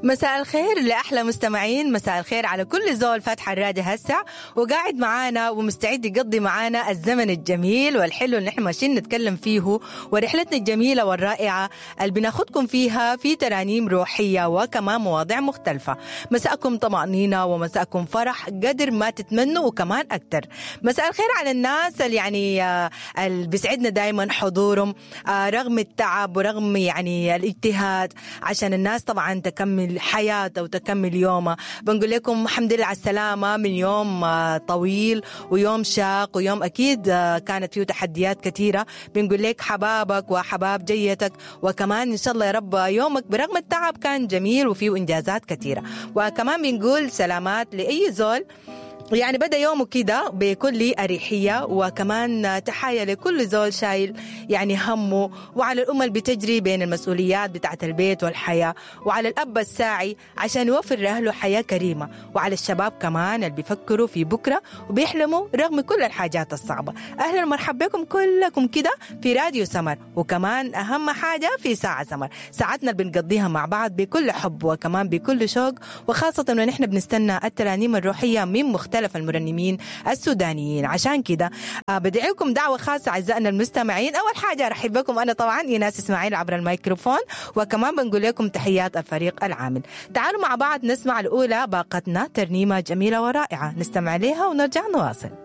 مساء الخير لأحلى مستمعين، مساء الخير على كل زول فاتح الراديو هسه وقاعد معانا ومستعد يقضي معانا الزمن الجميل والحلو اللي احنا ماشيين نتكلم فيه، ورحلتنا الجميلة والرائعة اللي بناخدكم فيها في ترانيم روحية وكمان مواضيع مختلفة. مساءكم طمأنينة ومساءكم فرح قدر ما تتمنوا وكمان أكتر. مساء الخير على الناس اللي يعني اللي بيسعدنا دايما حضورهم رغم التعب ورغم يعني الاجتهاد عشان الناس طبعا تكمل حياتها وتكمل يومها. بنقول لكم الحمد لله على السلامة من يوم طويل ويوم شاق ويوم أكيد كانت فيه تحديات كثيرة. بنقول لك حبابك وحباب جيتك، وكمان إن شاء الله يا رب يومك برغم التعب كان جميل وفيه إنجازات كثيرة. وكمان بنقول سلامات لأي زول يعني بدأ يومه كده بكل أريحية، وكمان تحايا لكل زول شايل يعني همه، وعلى الأم اللي بتجري بين المسؤوليات بتاعة البيت والحياة، وعلى الأب الساعي عشان يوفر لأهله حياة كريمة، وعلى الشباب كمان اللي بيفكروا في بكرة وبيحلموا رغم كل الحاجات الصعبة. أهلا ومرحبا بكم كلكم كده في راديو سمر، وكمان أهم حاجة في ساعة سمر، ساعتنا اللي بنقضيها مع بعض بكل حب وكمان بكل شوق، وخاصة ونحن بنستنى الترانيم الروحية من مختلف المرنمين السودانيين. عشان كده بدعيكم دعوة خاصة أعزائنا المستمعين. أول حاجة أرحب بكم أنا طبعا إيناس إسماعيل عبر الميكروفون، وكمان بنقول لكم تحيات الفريق العامل. تعالوا مع بعض نسمع الأولى باقتنا ترنيمة جميلة ورائعة، نستمع لها ونرجع نواصل.